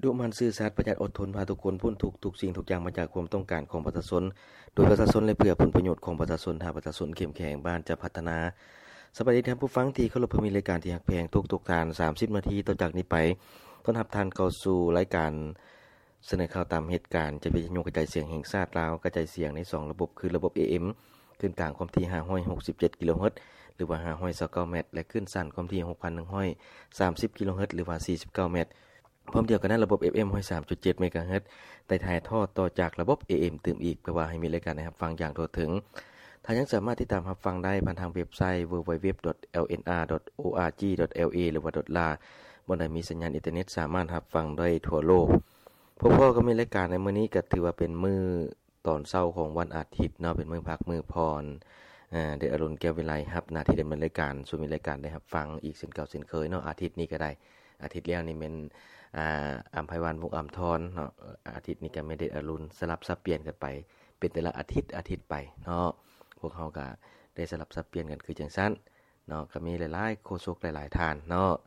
ດຸໝັ່ນຊື່ສັດ ປະຢັດອົດທົນ ພາທຸກຄົນພົ້ນທຸກ ທຸກສິ່ງທຸກຢ່າງມາຈາກຄວາມຕ້ອງການຂອງປະຊາຊົນ ໂດຍປະຊາຊົນ ແລະ ເພື່ອຜົນປະໂຫຍດຂອງປະຊາຊົນ. ຖ້າປະຊາຊົນເຂັ້ມແຂງ ບ້ານຈະພັດທະນາ. ສະບາຍດີທ່ານຜູ້ຟັງທີ່ເຄົາລົບ, ມີລາຍການທີ່ຮັກແພງທຸກໆທ່ານ. ສາມສິບນາທີຕໍ່ຈາກນີ້ໄປ ຕ້ອນຮັບທ່ານເຂົ້າສູ່ລາຍການ ສະເໜີຂ່າວຕາມເຫດການ ຈາກວິທະຍຸກະຈາຍສຽງແຫ່ງຊາດລາວ, ກະຈາຍສຽງໃນສອງລະບົບ ຄືລະບົບ ເອເອັມ ຄື້ນກາງຄວາມຖີ່ຫ້າຮ້ອຍຫົກສິບເຈັດກິໂລເຮີດ ຫຼືວ່າຫ້າຮ້ອຍຊາວເກົ້າແມັດ ແລະ ຄື້ນສັ້ນຄວາມຖີ່ຫົກພັນໜຶ່ງຮ້ອຍສາມສິບກິໂລເຮີດ ຫຼືວ່າສີ່ສິບເກົ້າແມັດ. ພ້ອມດຽວກັນນັ້ນ ລະບົບ ເອຟເອັມ ຮ້ອຍສາມຈຸດເຈັດເມກາເຮີດ ໄດ້ຖ່າຍທອດຕໍ່ຈາກລະບົບ ເອເອັມ ຕື່ມອີກ ເພື່ອວ່າໃຫ້ມີລາຍການໄດ້ຮັບຟັງຢ່າງທົ່ວເຖິງ. ທ່ານຍັງສາມາດຕິດຕາມຮັບຟັງໄດ້ຜ່ານທາງເວັບໄຊ www.lnr.org.la ຫຼືວ່າ .la ບ່ອນໃດມີສັນຍານອິນເຕີເນັດ ສາມາດຮັບຟັງໄດ້ທົ່ວໂລກ. ພົບພໍ້ກັບມີລາຍການໃນມື້ນີ້ ກໍຖືວ່າເປັນມື້ຕອນເຊົ້າຂອງວັນອາທິດເນາະ, ເປັນມື້ພັກມື້ຜ່ອນ. ເອີ ເດດອະລຸນ ແກ້ວວິໄລ ຮັບໜ້າທີ່ດຳເນີນລາຍການສູ່ມີລາຍການໄດ້ຮັບຟັງອີກເຊັ່ນເກົ່າເຊັ່ນເຄີຍເນາະ. ອາທິດນີ້ກໍໄດ້ ອາທິດແລ້ວນີ້ແມ່ນ ອາ ອຳໄພວັນ ວົງອຳທອນເນາະ, ອາທິດນີ້ກໍແມ່ນເດດອະລຸນ ສະຫຼັບສັບປ່ຽນກັນໄປ ເປັນແຕ່ລະອາທິດ ອາທິດໄປເນາະ. ພວກເຮົາກໍໄດ້ສະຫຼັບສັບປ່ຽນກັນຄືຈັ່ງຊັ້ນເນາະ, ກໍມີຫຼາຍໆໂຄສົກຫຼາຍໆທ່ານເນາະ.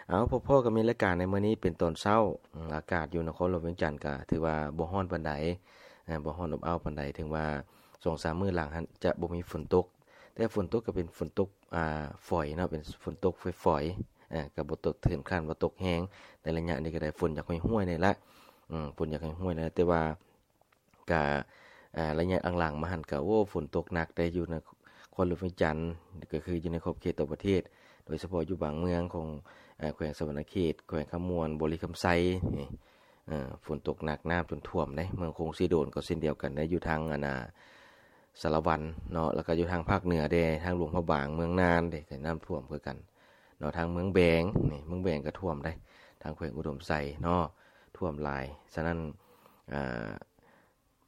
ເອົາ ພົບພໍ້ກັບມີລາຍການໃນມື້ນີ້ເປັນຕອນເຊົ້າ. ອາກາດຢູ່ນະຄອນຫຼວງວຽງຈັນກໍຖືວ່າບໍ່ຮ້ອນປານໃດ, ບໍ່ຮ້ອນອົບອ້າວປານໃດ, ເຖິງວ່າສອງສາມມື້ຫຼັງຫັ້ນຈະບໍ່ມີຝົນຕົກ, ແຕ່ຝົນຕົກກໍເປັນຝົນຕົກ ອາ ຝອຍເນາະ, ເປັນຝົນຕົກຝອຍໆ ອາ ກໍບໍ່ຕົກເຖິງຂັ້ນວ່າຕົກແຮງ. ໃນໄລຍະນີ້ກໍໄດ້ ຝົນຢາກຫ້ວຍໆນີ້ລະ, ອືມ ຝົນຢາກຫ້ວຍໆນີ້ລະ, ແຕ່ວ່າກະ ອາ ໄລຍະຫຼັງໆມາຫັ້ນກະ ໂອ້ ຝົນຕົກໜັກໄດ໋ ຢູ່ນະຄອນຫຼວງວຽງຈັນ, ກໍຄືຢູ່ໃນຂອບເຂດທົ່ວປະເທດ, ໂດຍສະເພາະຢູ່ບາງເມືອງຂອງ ອາ ແຂວງສະຫວັນນະເຂດ, ແຂວງຄຳມ່ວນ, ບໍລິຄຳໄຊນີ້ ອາ ຝົນຕົກໜັກ ນ້ຳຈົນຖ້ວມເດ້. ເມືອງຄົງເຊໂດນກໍເຊັ່ນດຽວກັນເດ້, ຢູ່ທາງ ອັນນ່າ ສາລະວັນເນາະ, ແລ້ວກໍຢູ່ທາງພາກເໜືອເດ້, ທາງຫຼວງພະບາງ, ເມືອງນານເດ້ ກໍນ້ຳຖ້ວມຄືກັນເນາະ. ທາງເມືອງແບງນີ້, ເມືອງແບງກໍຖ້ວມໄດ໋, ທາງແຂວງອຸດົມໄຊເນາະ, ຖ້ວມຫຼາຍ. ສະນັ້ນ ອາ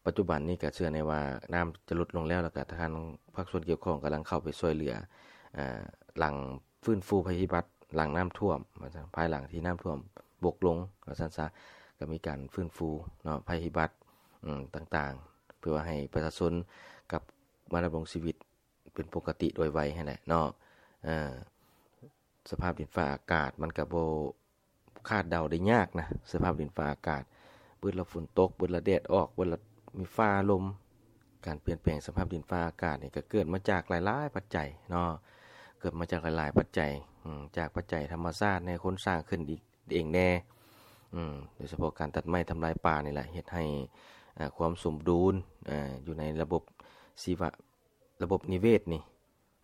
ປັດຈຸບັນນີ້ກໍເຊື່ອແນ່ວ່ານ້ຳຈະຫຼຸດລົງແລ້ວ, ແລ້ວກໍທາງພາກສ່ວນກ່ຽວຂ້ອງກຳລັງເຂົ້າໄປຊ່ວຍເຫຼືອ ອາ ຫຼັງຟື້ນຟູໄພພິບັດ ຫຼັງນ້ຳຖ້ວມ ວ່າຊັ້ນ, ພາຍຫຼັງທີ່ນ້ຳຖ້ວມບົກລົງ ວ່າຊັ້ນຊະ, ກໍມີການຟື້ນຟູເນາະ ໄພພິບັດ ອາ ຕ່າງໆ ເພື່ອວ່າໃຫ້ປະຊາຊົນກັບມາດຳລົງຊີວິດເປັນປົກກະຕິໂດຍໄວຫັ້ນແຫຼະເນາະ. ເອີ ສະພາບດິນຟ້າອາກາດມັນກໍບໍ່ ຄາດເດົາໄດ້ຍາກນະ, ສະພາບດິນຟ້າອາກາດ, ບາດລະຝົນຕົກ, ບາດລະແດດອອກ, ບາດລະມີຟ້າລົມ. ການປ່ຽນແປງສະພາບດິນຟ້າອາກາດນີ້ກໍເກີດມາຈາກຫຼາຍໆປັດໄຈເນາະ, ເກີດມາຈາກຫຼາຍໆປັດໄຈ, ອາ ຈາກປັດໄຈທຳມະຊາດແດ່, ຄົນສ້າງຂຶ້ນອີກເອງແດ່, ອາ ໂດຍສະເພາະການຕັດໄມ້ທຳລາຍປ່ານີ້ແຫຼະ ເຮັດໃຫ້ ອາ ຄວາມສົມດຸນ ອາ ຢູ່ໃນລະບົບຊີວະ ລະບົບນິເວດນີ້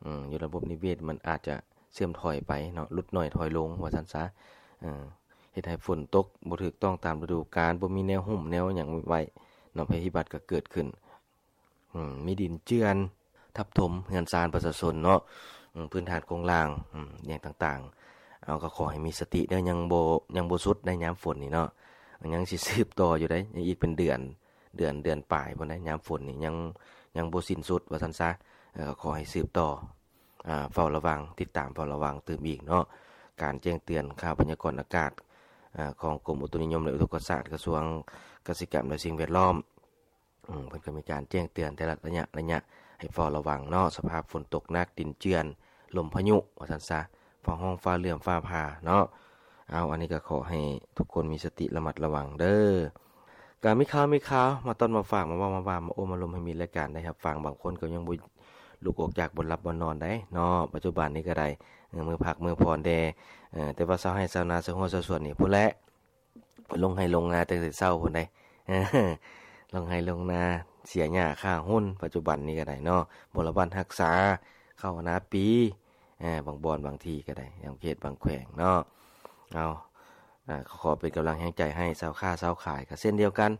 ອາ ຢູ່ລະບົບນິເວດມັນອາດຈະເສື່ອມຖອຍໄປເນາະ, ຫຼຸດໜ້ອຍຖອຍລົງວ່າຊັ້ນຊະ. ເຮັດໃຫ້ຝົນຕົກບໍ່ຖືກຕ້ອງຕາມລະດູການ, ບໍ່ມີແນວຫຸ້ມແນວຫຍັງໄວ້ເນາະ, ໄພພິບັດກໍເກີດຂຶ້ນ. ອາ ມີດິນເຈື່ອນທັບຖົມເຮືອນຊານປະຊາຊົນເນາະ, ອາ ພື້ນຖານໂຄງລ່າງ ອາ ຫຍັງຕ່າງໆ. ເອົາ ກໍຂໍໃຫ້ມີສະຕິເດີ, ຍັງບໍ່ ຍັງບໍ່ສຸດໃດຍາມຝົນນີ້ເນາະ, ຍັງຊິສືບຕໍ່ຢູ່ໃດ, ຍັງອີກເປັນເດືອນ ເດືອນ ເດືອນປາຍພຸ້ນໃດ. ຍາມຝົນນີ້ຍັງ ຍັງບໍ່ສິ້ນສຸດວ່າຊັ້ນຊະ. ເອີ ກໍຂໍໃຫ້ສືບຕໍ່ ອາ ເຝົ້າລະວັງ, ຕິດຕາມເຝົ້າລະວັງຕື່ມອີກເນາະ. ການແຈ້ງເຕືອນຂ່າວພະຍາກອນອາກາດ ອາ ຂອງກົມອຸຕຸນິຍົມ ແລະ ອຸທົກກະສາດ ກະຊວງກະສິກຳ ແລະ ສິ່ງແວດລ້ອມ ອາ ເພິ່ນກໍມີການແຈ້ງເຕືອນແຕ່ລະໄລຍະ ໄລຍະ ໃຫ້ເຝົ້າລະວັງເນາະ, ສະພາບຝົນຕົກໜັກ, ດິນເຈື່ອນ, ລົມພາຍຸ ວ່າຊັ້ນຊະ. ຟ້າຮ້ອງ ຟ້າເຫຼື້ອມ ຟ້າຜ່າເນາະ. ເອົາ ອັນນີ້ກໍຂໍໃຫ້ທຸກຄົນມີສະຕິລະມັດລະວັງເດີ. ກໍມີຂ່າວ ມີຂ່າວມາຕ້ອນມາຝາກ ມາເວົ້າມາວ່າ ມາໂອ້ມາລົມ ໃຫ້ມີລາຍການໄດ້ຮັບຟັງ. ບາງຄົນກໍຍັງບໍ່ລຸກອອກຈາກບ່ອນຫຼັບບ່ອນນອນໄດ໋ເນາະ, ປັດຈຸບັນນີ້ກໍໄດ້ ເອີ ມື້ພັກມື້ຜ່ອນແດ່. ເອີ ແຕ່ວ່າຊາວໄຮ່ຊາວນາ ຊາວຮົ້ວຊາວສວນນີ້ພຸ້ນແຫຼະ ລົງໄຮ່ລົງນາຕັ້ງແຕ່ເຊົ້າພຸ້ນໃດ໋, ລົງໄຮ່ລົງນາ ເສຍຫຍ້າຂ້າຫຸ່ນ ປັດຈຸບັນນີ້ກໍໄດ້ເນາະ, ບໍລະບັດຮັກສາ ເຂົ້າໜ້າປີ ເອີ ບາງບ່ອນບາງທີ່ກໍໄດ້ ບາງເຂດບາງແຂວງເນາະ. ເອົາ ອາ ຂໍເປັນກຳລັງແຮງໃຈໃຫ້ຊາວຄ້າຊາວຂາຍກໍເຊັ່ນດຽວກັນ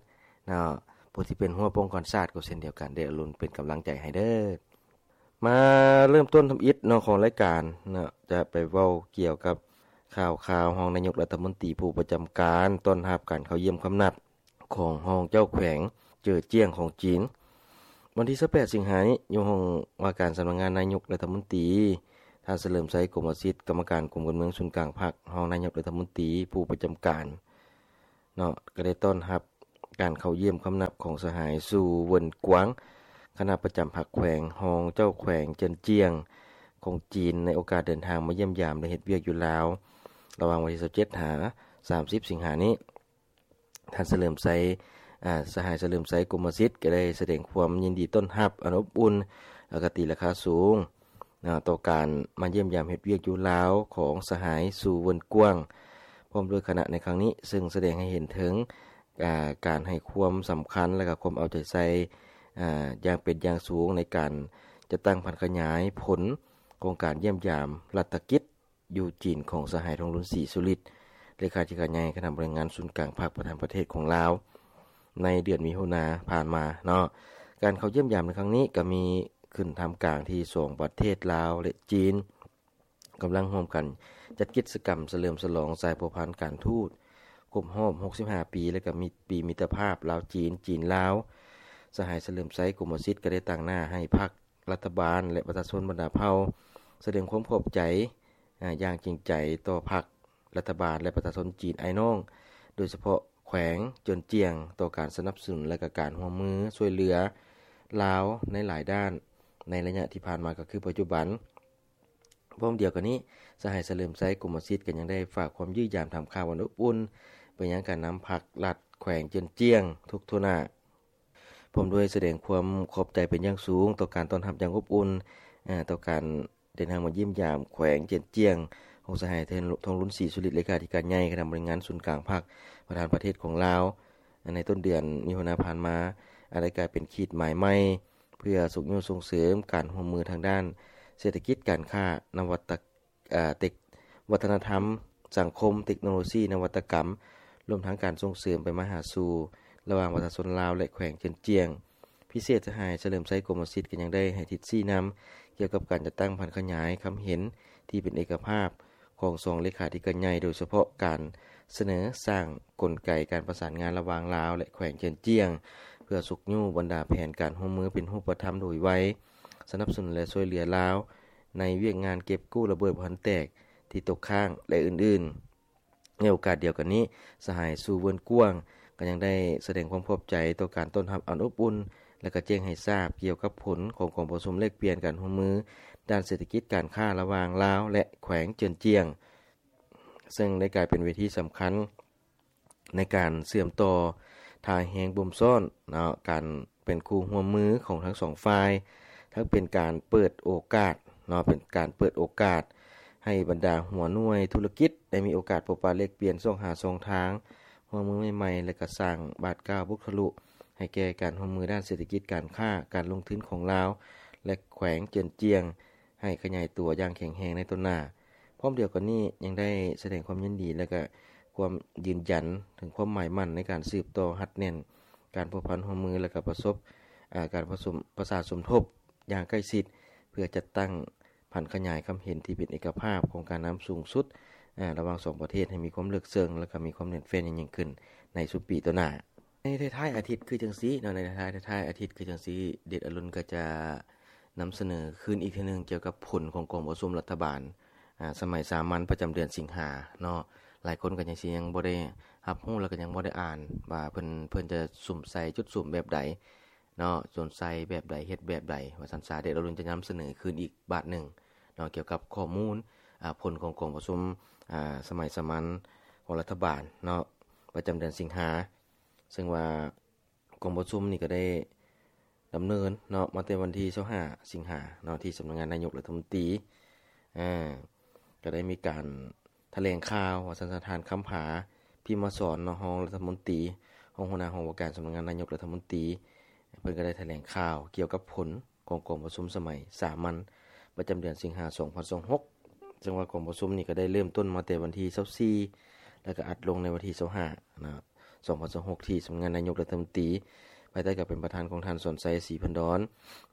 ເນາະ, ຜູ້ທີ່ເປັນຮົ້ວປ້ອງກັນຊາດກໍເຊັ່ນດຽວກັນ, ໄດ້ອາລົມເປັນກຳລັງໃຈໃຫ້ເດີ. ມາເລີ່ມຕົ້ນທຳອິດເນາະ ຂອງລາຍການເນາະ, ຈະໄປເວົ້າກ່ຽວກັບຂ່າວຄາວຮອງນາຍົກລັດຖະມົນຕີຜູ້ປະຈຳການ ຕ້ອນຮັບການເຂົ້າຢ້ຽມຄຳນັບຂອງຮອງເຈົ້າແຂວງເຈີຈຽງຂອງຈີນ. ວັນທີຊາວແປດສິງຫານີ້ ຢູ່ຫ້ອງວ່າການສຳນັກງານນາຍົກລັດຖະມົນຕີ, ທ່ານ ສະເຫຼີມໄຊ ກົມມະສິດ ກຳມະການກົມການເມືອງສູນກາງພັກ, ຮອງນາຍົກລັດຖະມົນຕີຜູ້ປະຈຳການ ເນາະ ກໍໄດ້ຕ້ອນຮັບການເຂົ້າຢ້ຽມຄຳນັບຂອງສະຫາຍ ຊູ ເວິນກວາງ ຄະນະປະຈຳພັກແຂວງ, ຮອງເຈົ້າແຂວງເຈີນຈຽງຂອງຈີນ ໃນໂອກາດເດີນທາງມາຢ້ຽມຢາມ ແລະ ເຮັດວຽກຢູ່ລາວ ລະຫວ່າງວັນທີຊາວເຈັດຫາສາມສິບສິງຫານີ້. ທ່ານສະເຫຼີມໄຊ ອາ ສະຫາຍສະເຫຼີມໄຊ ກົມມະສິດ ກໍໄດ້ສະແດງຄວາມຍິນດີຕ້ອນຮັບອັນອົບອຸ່ນ ແລະ ກໍຕີລາຄາສູງ ເນາະ ຕໍ່ການມາຢ້ຽມຢາມເຮັດວຽກຢູ່ລາວຂອງສະຫາຍ ຊູ ເວິນກວາງ ພ້ອມດ້ວຍຄະນະໃນຄັ້ງນີ້, ເຊິ່ງສະແດງໃຫ້ເຫັນເຖິງ ອາ ການໃຫ້ຄວາມສຳຄັນ ແລະ ກໍຄວາມເອົາໃຈໃສ່ ອາ ຢ່າງເປັນຢ່າງສູງ ໃນການຈັດຕັ້ງຜັນຂະຫຍາຍຜົນຂອງການຢ້ຽມຢາມລັດຖະກິດ ຢູ່ຈີນຂອງສະຫາຍ ທອງລຸນ ສີສຸລິດ ເລຂາທິການໃຫຍ່ຄະນະບໍລິຫານງານສູນກາງພັກ ປະທານປະເທດຂອງລາວ ໃນເດືອນມິຖຸນາຜ່ານມາເນາະ. ການເຂົ້າຢ້ຽມຢາມໃນຄັ້ງນີ້ກໍມີຂຶ້ນທ່າມກາງທີ່ສອງປະເທດລາວ ແລະ ຈີນ ກຳລັງຮ່ວມກັນຈັດກິດຈະກຳສະເຫຼີມສະຫຼອງສາຍພົວພັນການທູດຄົບຮອບຫົກສິບຫ້າປີ ແລະ ກໍມີປີມິດຕະພາບລາວ-ຈີນ, ຈີນ-ລາວ. ສະຫາຍສະເຫຼີມໄຊ ກົມມະສິດ ກໍໄດ້ຕາງໜ້າໃຫ້ພັກ ລັດຖະບານ ແລະ ປະຊາຊົນບັນດາເຜົ່າ ສະແດງຄວາມຂອບໃຈ ອາ ຢ່າງຈິງໃຈຕໍ່ພັກ ລັດຖະບານ ແລະ ປະຊາຊົນຈີນອ້າຍນ້ອງ ໂດຍສະເພາະແຂວງເຈີນຈຽງ ຕໍ່ການສະໜັບສະໜູນ ແລະ ກະການຮ່ວມມືຊ່ວຍເຫຼືອລາວໃນຫຼາຍດ້ານ ໃນໄລຍະທີ່ຜ່ານມາ ກໍຄືປັດຈຸບັນ. ພ້ອມດຽວກັນນີ້ ສະຫາຍສະເຫຼີມໄຊ ກົມມະສິດ ກໍຍັງໄດ້ຝາກຄວາມຢ້ຽມຢາມຖາມຂ່າວອັນອົບອຸ່ນ ໄປຍັງການນຳພັກລັດແຂວງເຈີນຈຽງທຸກທົ່ວໜ້າ ພ້ອມດ້ວຍສະແດງຄວາມຂອບໃຈເປັນຢ່າງສູງຕໍ່ການຕ້ອນຮັບຢ່າງອົບອຸ່ນ ເອີ ຕໍ່ການເດີນທາງມາຢ້ຽມຢາມແຂວງເຈີນຈຽງຂອງສະຫາຍ ທອງລຸນ ສີສຸລິດ ເລຂາທິການໃຫຍ່ຄະນະບໍລິຫານງານສູນກາງພັກ ປະທານປະເທດຂອງລາວ ໃນຕົ້ນເດືອນມິຖຸນາຜ່ານມາ ອາດໄດ້ກາຍເປັນຂີດໝາຍໃໝ່ ເພື່ອຊຸກຍູ້ສົ່ງເສີມການຮ່ວມມືທາງດ້ານເສດຖະກິດ, ການຄ້າ, ນະວັດຕະ ອາ ເຕັກ ວັດທະນະທຳ, ສັງຄົມ, ເຕັກໂນໂລຊີ, ນະວັດຕະກຳ, ລວມທັງການສົ່ງເສີມໄປມາຫາສູ່ລະຫວ່າງປະຊາຊົນລາວ ແລະ ແຂວງເຈີນຈຽງ. ພິເສດສະຫາຍສະເຫຼີມໄຊ ກົມມະສິດ ກໍຍັງໄດ້ໃຫ້ທິດຊີ້ນຳກ່ຽວກັບການຈັດຕັ້ງຜັນຂະຫຍາຍຄຳເຫັນທີ່ເປັນເອກະພາບຂອງສອງເລຂາທິການໃຫຍ່, ໂດຍສະເພາະການສະເໜີສ້າງກົນໄກການປະສານງານລະຫວ່າງລາວ ແລະ ແຂວງເຈີນຈຽງ ເພື່ອຊຸກຍູ້ບັນດາແຜນການຮ່ວມມືເປັນຮູບປະທຳໂດຍໄວ, ສະໜັບສະໜູນ ແລະ ຊ່ວຍເຫຼືອລາວ ໃນວຽກງານເກັບກູ້ລະເບີດບໍ່ທັນແຕກທີ່ຕົກຄ້າງ ແລະ ອື່ນໆ. ໃນໂອກາດດຽວກັນນີ້, ສະຫາຍ ຊູ ເວິນກວາງ ກໍຍັງໄດ້ສະແດງຄວາມຂອບໃຈຕໍ່ການຕ້ອນຮັບອັນອົບອຸ່ນ ແລະ ກໍແຈ້ງໃຫ້ຊາບກ່ຽວກັບຜົນຂອງກອງປະຊຸມແລກປ່ຽນການຮ່ວມມືດ້ານເສດຖະກິດການຄ້າລະຫວ່າງລາວ ແລະ ແຂວງເຈີນຈຽງ, ເຊິ່ງໄດ້ກາຍເປັນເວທີສຳຄັນ ໃນການເຊື່ອມຕໍ່ທ່າແຮງບົ່ມຊ້ອນເນາະ ການເປັນຄູ່ຮ່ວມມືຂອງທັງສອງຝ່າຍ, ທັງເປັນການເປີດໂອກາດເນາະ ເປັນການເປີດໂອກາດໃຫ້ບັນດາຫົວໜ່ວຍທຸລະກິດໄດ້ມີໂອກາດພົບປະແລກປ່ຽນ ຊອກຫາຊ່ອງທາງຮ່ວມມືໃໝ່ໆ ແລະ ກະສ້າງບາດກ້າວບຸກທະລຸໃຫ້ແກ່ການຮ່ວມມືດ້ານເສດຖະກິດການຄ້າການລົງທຶນຂອງລາວ ແລະ ແຂວງເຈີນຈຽງ ໃຫ້ຂະຫຍາຍຕົວຢ່າງແຂງແຮງໃນຕໍ່ໜ້າ. ພ້ອມດຽວກັນນີ້ຍັງໄດ້ສະແດງຄວາມຍິນດີ ແລະ ກະຄວາມຢືນຢັນເຖິງຄວາມໝາຍໝັ້ນໃນການສືບຕໍ່ຮັດແໜ້ນການພົວພັນຮ່ວມມື ແລະ ກະປະສົບ ອາ ການປະສົມ ປະສານສົມທົບຢ່າງໃກ້ຊິດ ເພື່ອຈັດຕັ້ງຜັນຂະຫຍາຍຄຳເຫັນທີ່ເປັນເອກະພາບຂອງການນຳສູງສຸດ ອາ ລະຫວ່າງສອງປະເທດໃຫ້ມີຄວາມເລິກເຊິ່ງ ແລະ ກະມີຄວາມແໜ້ນແຟ້ນໃຫຍ່ຍິ່ງຂຶ້ນໃນຊຸມປີຕໍ່ໜ້າ. ໃນທ້າຍໆອາທິດຄືຈັ່ງຊີ້ເນາະ ໃນທ້າຍໆອາທິດຄືຈັ່ງຊີ້ ເດັດອາລຸນກໍຈະນຳສະເໜີຄືນອີກເທື່ອໜຶ່ງກ່ຽວກັບຜົນຂອງກອງປະຊຸມລັດຖະບານ ອາ ສະໄໝສາມັນປະຈຳເດືອນສິງຫາເນາະ. ຫຼາຍຄົນກໍຍັງຊິຍັງບໍ່ໄດ້ຮັບຮູ້ ແລ້ວກໍຍັງບໍ່ໄດ້ອ່ານວ່າເພິ່ນ ເພິ່ນຈະສຸມໃສ່ຈຸດສຸມແບບໃດເນາະ ສຸມໃສ່ແບບໃດ ເຮັດແບບໃດວ່າຊັ້ນຊະ. ເດັດອາລຸນຈະນຳສະເໜີຄືນອີກບາດໜຶ່ງເນາະ ກ່ຽວກັບຂໍ້ມູນ ອາ ຜົນຂອງກອງປະຊຸມ ອາ ສະໄໝສາມັນຂອງລັດຖະບານເນາະ ປະຈຳເດືອນສິງຫາ ເຊິ່ງວ່າ ກອງປະຊຸມນີ້ກໍໄດ້ດຳເນີນເນາະ ມາແຕ່ວັນທີຊາວຫ້າສິງຫາເນາະ ທີ່ສຳນັກງານນາຍົກລັດຖະມົນຕີ ອາ ກໍໄດ້ມີການຖະແຫຼງຂ່າວວ່າຊັ້ນຊະ ທ່ານ ຄຳຜາ ພິມມະສອນເນາະ ຮອງລັດຖະມົນຕີ ຮອງຫົວໜ້າຫ້ອງວ່າການສຳນັກງານນາຍົກລັດຖະມົນຕີ ເພິ່ນກໍໄດ້ຖະແຫຼງຂ່າວກ່ຽວກັບຜົນຂອງກອງປະຊຸມສະໄໝສາມັນປະຈຳເດືອນສິງຫາ ສອງພັນຊາວຫົກ ເຊິ່ງວ່າກອງປະຊຸມນີ້ກໍໄດ້ເລີ່ມຕົ້ນມາແຕ່ວັນທີຊາວສີ່ ແລ້ວກໍອັດລົງໃນວັນທີຊາວຫ້າເນາະ ສອງພັນຊາວຫົກ ທີ່ສຳນັກງານນາຍົກລັດຖະມົນຕີ ພາຍໃຕ້ການເປັນປະທານຂອງທ່ານ ສອນໄຊ ສີພັນດອນ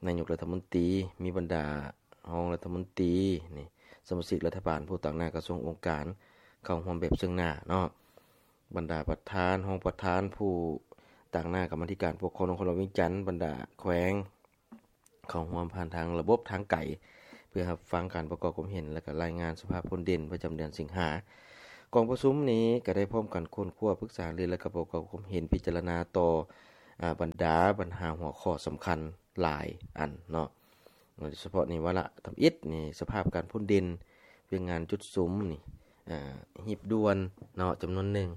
ນາຍົກລັດຖະມົນຕີ, ມີບັນດາຮອງລັດຖະມົນຕີ ນີ້ ສະມາຊິກລັດຖະບານ, ຜູ້ຕາງໜ້າກະຊວງອົງການ ເຂົ້າຮ່ວມແບບເຊິ່ງໜ້າເນາະ, ບັນດາປະທານ, ຮອງປະທານ, ຜູ້ຕາງໜ້າກຳມາທິການປົກຄອງນະຄອນຫຼວງວຽງຈັນ, ບັນດາແຂວງ ເຂົ້າຮ່ວມຜ່ານທາງລະບົບທາງໄກ ເພື່ອຮັບຟັງການປະກອບຄວາມເຫັນ ແລະ ກະລາຍງານສະພາບຜົນເດັ່ນປະຈຳເດືອນສິງຫາ. ກອງປະຊຸມນີ້ກະໄດ້ພ້ອມກັນຄົ້ນຄວ້າ, ປຶກສາຫາລື ແລະ ກະປະກອບຄວາມເຫັນ, ພິຈາລະນາຕໍ່ ອາ ບັນດາບັນຫາຫົວຂໍ້ສຳຄັນຫຼາຍອັນເນາະ, ໂດຍສະເພາະໃນວາລະທຳອິດນີ້ ສະພາບການພົ້ນເດັ່ນ, ວຽກງານຈຸດສຸມນີ້ ອາ ຮີບດ່ວນເນາະ ຈຳນວນໜຶ່ງ,